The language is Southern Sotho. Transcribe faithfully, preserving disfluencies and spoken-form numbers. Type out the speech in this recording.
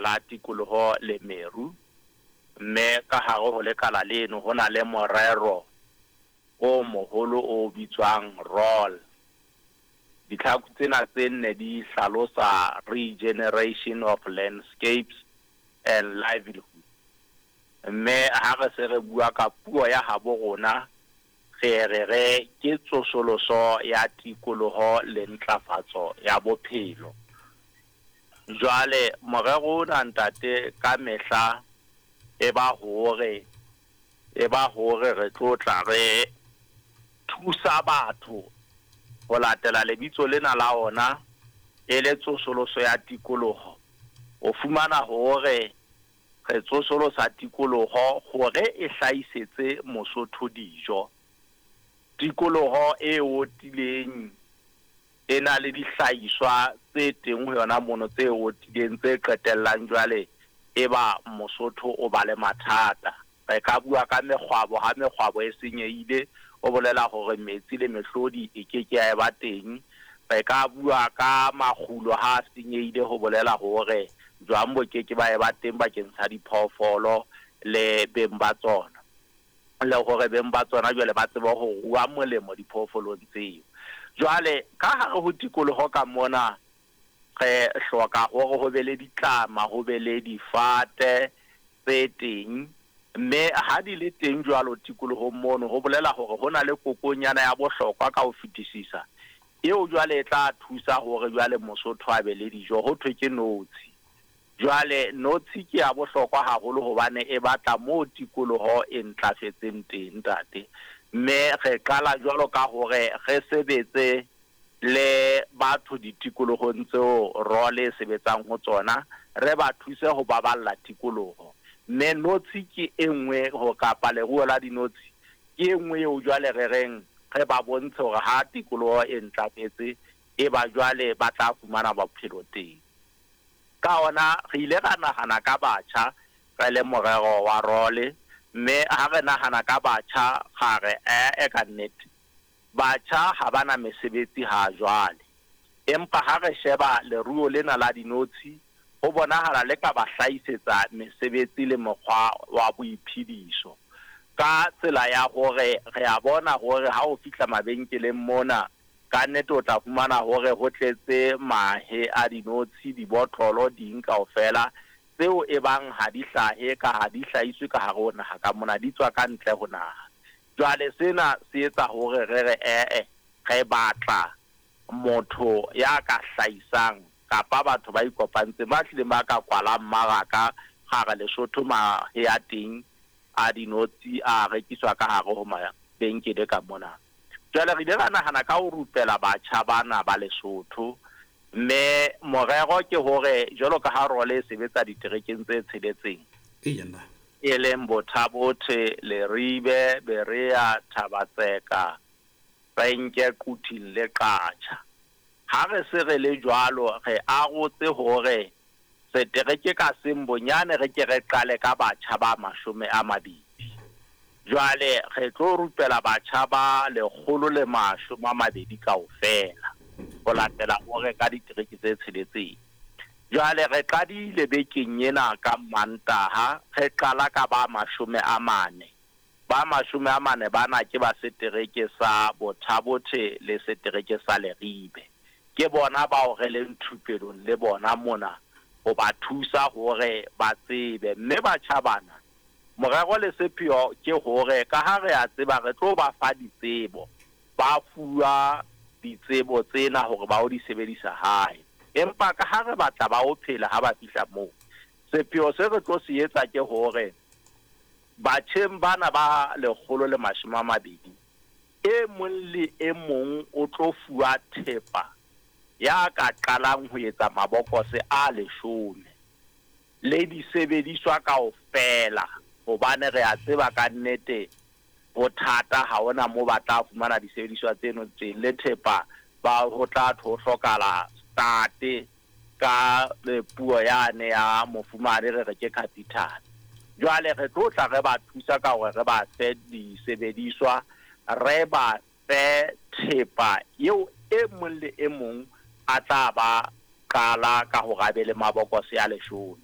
La Tikoloho le Meru, mme ka hare ho lekala leno ho na le morero o moholo o bitswang ROLL. Ditlhaku tsena tse nne di hlalosa Regeneration of Landscapes and Livelihood. Mme ha re se re bua ka puo ya habo rona, re re re ke tsosoloso ya tikoloho le ntlafatso ya bophelo. Jwale morero ona, ntate, ka mehla e ba hore e ba hore re tlo tla re thusa batho ho latela lebitso lena la ona e le tsosoloso ya tikoloho. O fumana hore re tsosolosa tikoloho hore e hlahisetse Mosotho dijo. Tikoloho e otileng e na le dihlahiswa tse teng ho yona mono tse otileng tse qetellang jwale e ba Mosotho o ba le mathata. Re ka bua ka mekgwabo, ha mekgwabo e senyehile o bolela hore metsi le mehlodi e ke ke ya eba teng. Re ka bua ka makgulo, ha senyehile ho bolela hore jwang bo ke ke ba eba teng bakeng sa diphoofolo le beng ba tsona, le hore beng ba tsona jwale ba tsebe ho rua molemo diphoofolong tseo. Jwale ka hare ho tikoloho ka mona re hloka hore ho be le ditlama, ho be le difate tse teng, mme ha di le teng jwalo tikolohong mono, ho bolela hore ho na le kokonyana ya bohlokwa ka ho fetisisa eo jwale e tla thusa hore jwale Mosotho a be le dijo, ho thwe ke notshi. Jwale notshi ke ya bohlokwa haholo hobane e batla moo tikoloho e ntlafetseng teng, ntate. Mme re qala jwalo ka hore re sebetse le batho ditikolohong tseo ROLL e sebetsang ho tsona, re ba thuse ho baballa tikoloho. Mme notshi ke e nngwe ho kapa leruo la dinotshi ke e nngwe eo jwale re reng re ba bontshe hore ha tikoloho e ntlafetse e ba jwale ba tla fumana bophelo teng. Ka hona re ile ra nahana ka batjha re le morero wa ROLL, mme ha re nahana ka batjha ra re ee ka nnete batjha ha bana mesebetsi ha jwale, empa ha re sheba leruo lena la dinotshi ho bonahala le ka ba hlahisetsa mesebetsi le mokgwa wa boiphediso. Ka tsela ya hore re a bona hore ha o fihla mabenkeleng mona ka nnete o tla fumana hore ho tletse mahe a dinotshi, dibotlolo, ding kaofela tseo e bang ha di hlahe ka ha di hlahiswe ka hare ho naha ka mona, di tswa ka ntle ho naha. Jwale sena se etsa hore re re ee re batla motho ya ka hlahisang kapa batho ba ikopantseng ba tlileng ba ka kwala mmaraka gare Lesotho mahe a teng a dinotshi a rekiswa ka hare ho mabenkele ka mona. Jwale re ile ra nahana ka ho rupela batjha bana ba Lesotho, mme morero ke hore jwalo ka ha ROLL e sebetsa diterekeng tse tsheletseng, e leng Botha-Bothe, Leribe, Berea, Thaba-Tseka, Renke, Quthing le Qacha. Ha re se re le jwalo re arotse hore setereke ka seng bonyane re ke re qale ka batjha ba mashome a mabedi. Jwale re tlo rupela batjha ba lekgolo le mashome a mabedi kaofela ho latela hore ka ditereke tse tsheletseng. Jwale re qadile bekeng ena ka Mantaha, re qala ka ba mashome a mane. Ba mashome a mane bana ke ba setereke sa Botha-Bothe le setereke sa Leribe. Ke bona bao re leng thupelong le bona mona ho ba thusa hore ba tsebe. Mme batjha bana morero le sepheo ke hore ka ha re a tseba re tlo ba fa ditsebo, ba fuwa ditsebo tsena hore ba o di sebedisa hae, empa ka ha re batla ba o phela ha ba fihla moo, sepheo se re tlo se etsa ke hore batjheng bana ba lekgolo le mashome a mabedi e mong le e mong o tlo fuwa thepa ya ka qalang ho etsa mabokose a leshome le disebediswa kaofela, hobane re a tseba ka nnete bothata ha hona moo ba tla fumana disebediswa tseno teng le thepa ba ho tla ho hlokala start ka puo yane ya mofumane re re ke capital. Jwale re tlo tla re ba thusa ka hore re ba fe disebediswa, re ba fe thepa eo e mong le e mong a tla ba qala ka hore a be le mabokose a leshome.